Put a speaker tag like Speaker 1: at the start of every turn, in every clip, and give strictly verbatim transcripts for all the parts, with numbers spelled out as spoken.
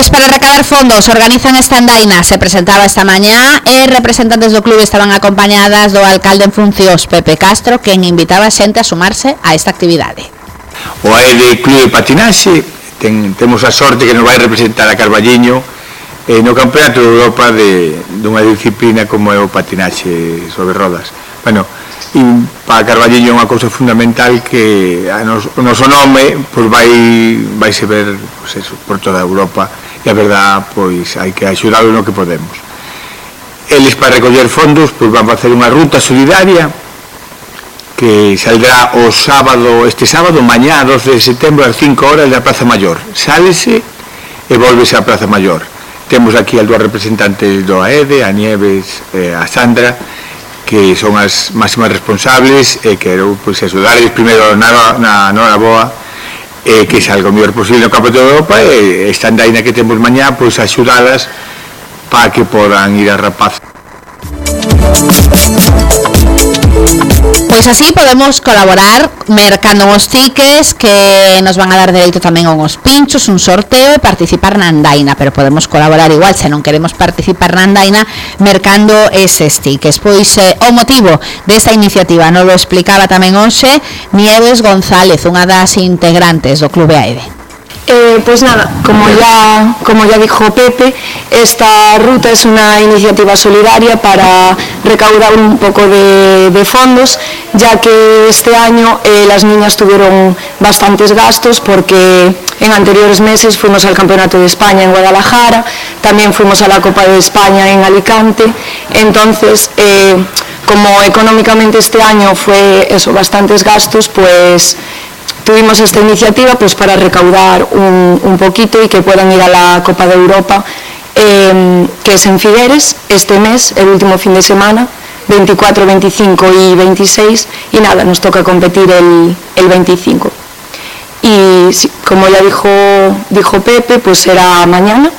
Speaker 1: Pois para recabar fondos organizan esta andaina, se presentaba esta mañá e representantes do clube estaban acompañadas do alcalde en funcións, Pepe Castro, quen invitaba a xente a sumarse a esta actividade.
Speaker 2: O A E D Clube de Patinaxe ten, temos a sorte que nos vai representar a Carballiño eh, no Campeonato de Europa de, dunha disciplina como é o patinaxe sobre rodas. Bueno, e para Carballiño é unha cousa fundamental que a nos, o noso nome pois vai vai se ver pois eso, por toda Europa e a verdad pois hai que axudar no que podemos. Eles para recoller fondos pois van a facer unha ruta solidaria que saldrá o sábado, este sábado, mañá doce de setembro ás cinco horas da Praza Maior. Sálese e volvese á Praza Maior. Temos aquí as dúas representantes do A E D, a Nieves e a Sandra, que son as máximas responsables e quero pois, axudarles primeiro na, na, na hora boa e que salga o mellor posible no Campeonato de Europa e esta andaina que temos mañá pois axudalas para que podan ir a rapaz.
Speaker 1: Pois así podemos colaborar mercando uns tickets que nos van a dar dereito tamén a uns pinchos, un sorteo e participar na andaina, pero podemos colaborar igual se non queremos participar na andaina mercando eses tickets. Pois eh, o motivo desta iniciativa nos lo explicaba tamén hoxe Nieves González, unha das integrantes do Clube A E D.
Speaker 3: Eh, pues nada, como ya, como ya dijo Pepe, esta ruta es una iniciativa solidaria para recaudar un poco de, de fondos, ya que este año eh, las niñas tuvieron bastantes gastos porque en anteriores meses fuimos al Campeonato de España en Guadalajara, también fuimos a la Copa de España en Alicante, entonces eh, como económicamente este año fue eso, bastantes gastos, pues tuvimos esta iniciativa pues para recaudar un, un poquito y que puedan ir a la Copa de Europa, eh, que es en Figueres este mes, el último fin de semana, veinticuatro, veinticinco y veintiséis, y nada, nos toca competir el, el veinticinco. Y sí, como ya dijo, dijo Pepe, pues será mañana,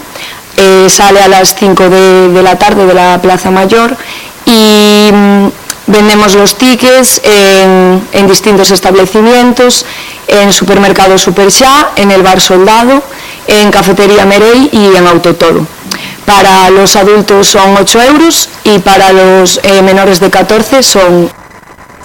Speaker 3: eh, sale a las cinco de, de la tarde de la Plaza Mayor y vendemos los tickets en, en distintos establecimientos, en Supermercado Superxá, en el Bar Soldado, en Cafetería Merey y en Autotoro. Para los adultos son ocho euros y para los eh, menores de catorce son